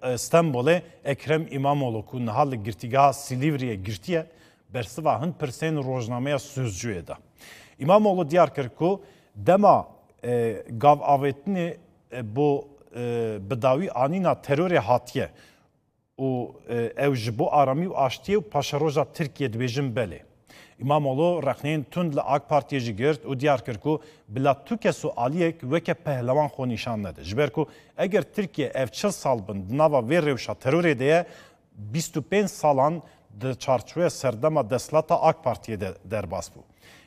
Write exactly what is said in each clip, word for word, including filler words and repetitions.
e, Stenbolê Ekrem Îmamoğlu ku niha li girtîgeha Silîvriyê girtiye, bersiva hin pirsên rojnameya Sözcüyê da. Îmamoğlu diyar kir ku dema, e, gav avêtinê, e, bo, e, bi dawî anîna terorê hatiye û, e, ew ji bo aramî û aştiyê û paşeroja Tirkiyê dibêjin belê. Îmamoğlu rexneyên tund li AK Partiyê jî girt û diyar kir ku bila tu kes û aliyek weke pehlewan xwe nîşan nede. Ji ber ku eger Tirkiye ev çil sal bin di nava vê rewşa terorê de ye, bîst û pênc salan di çarçoveya serdema desthilata AK Partiyê de derbas bû.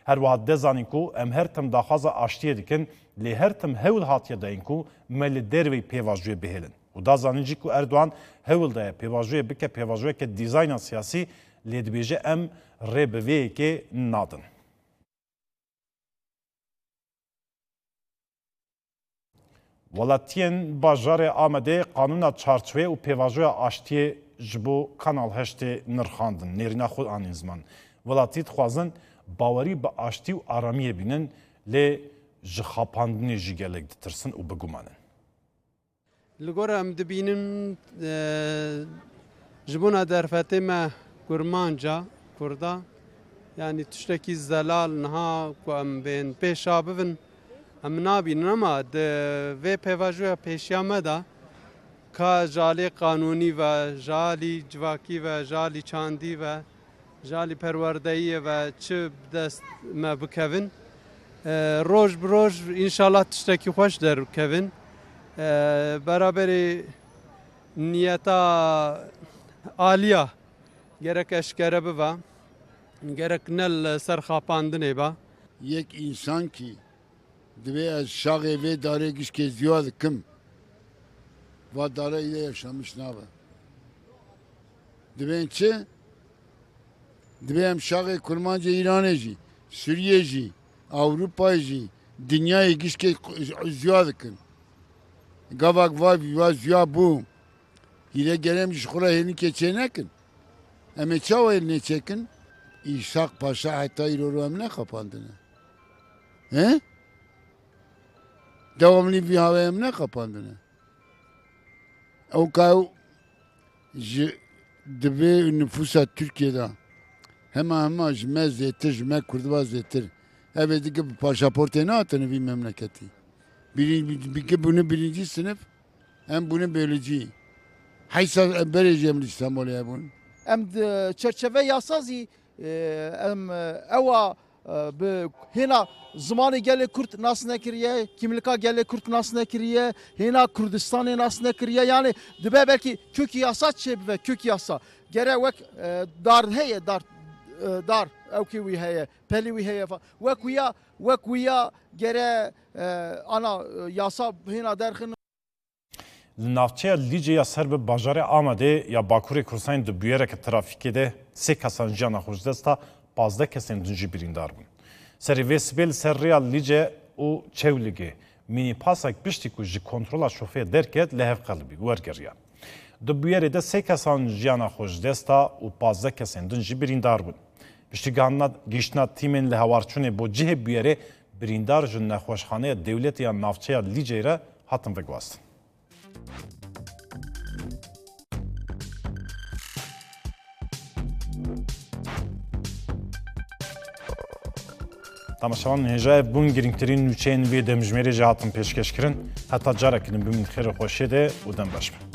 Her wiha dê zanîn ku em her tim daxwaza aştiyê dikin, lê her tim hewl hatiye dayîn ku me li derveyî pêvajoyê bihêlin. Û da zanîn jî ku Erdogan hewl daye pêvajoyê bike pêvajoyeke dîzayna siyasî, lê dibêje em rê bi vê yekê nadin. Welatiyên bajarê Amedê qanûna çarçoveyê û pêvajoya aştiyê ji bo Kanal Heştê nirxandin, nêrîna xwe anîn ziman. Welatî dixwazin bawerî bi aştî û aramiyê bînin, lê ji xapandinê jî gelek ditirsin û biguman in. Li gor em dibînin, e, ji bona derfetê me kurmanca, kurda, yanî tiştekî zelal niha ku em bên pêşa bibin, em nabînin, ama di vê pêvajoya pêşiya me de ka ji alî qanûnî ve, ji alî civakî ve, ji alî çandî ve, ji alî perwerdeyiyê ve çi bi dest me bikevin. E, roj bi roj înşallah tiştekî xweş derkevin. E, beraberî niyeta aliya gerek eşkere bibe, gerek ne li ser xapandinê be. Yek însan kî divê ez şaxê vê darê gişkê ziwa dikim, va dara îde yaşamiş nabe. Divên çi? Divê em şaxê kurmancê Îranê jî, Sûriyê jî, Ewropayê jî, dinyayê gişkê ziwa dikin. Gavak va, va ziwa bû. Hîre gere em ji xwe re hênikê çê nekin. Em ê çawa hêlinê çêkin? Îshak Paşa heta îro ro em nexapandine. He? Dewamlî vî havê em nexapandine. Ew ka ew ji di vê nifûsa Tirkiyê de hema hema ji me zêtir, ji me Kurdiva zêtir. Ev ê dike bi paşaportê nehatine vî memleketî. Birin-, bi-, bike bûne birincî sinif, em bûne biyolojî. Heysa em berê jî em li Îstanbulê hebûn. Em di çerçeve yasa zî, e, em, e, ewa, e, bi hêna zimanê gelê Kurd nas nekiriye, kîmlika gelê Kurd nas nekiriye, hêna Kurdistanê nas nekiriye. Yani dibe belkî kök yasa çêbibe, kök yasa. Gere wek, e, dar heye, dar, e, dar, ewkê wî heye, pelî wî heye fa-, wek wîya, wek wîya gere, e, ana, e, yasa hêna derxin. Li navçeya Lîcê ya ser bi bajarê Amedê ya Bakurê Kurdistanê di bûyereke trafîkê de sê kesan jiyana xwe ji dest da, pazdeh kesên din jî birîndar bûn. Serê vê sibê li ser rêya Lîce û Çewligê mînîpasek piştî ku ji kontrola şofê derket, li hev qelibî wergeriya. Di bûyerê de sê kesan jiyana xwe ji dest da û pazdeh kesên din jî birîndar bûn. Piştî gihandina, gihiştina tîmên li hewarçûnê bo cihê bûyerê, birîndar ji Nexweşxaneya Dewletê ya Navçeya Lîcê re hatin veguhastin. Temaşevan hêja, ev bûn girîngtirîn nûçeyên vê demjimêrê jî hatin pêşkêşkirin. Heta carekî din bimînin xêr û xweşiyê de û dem baş be.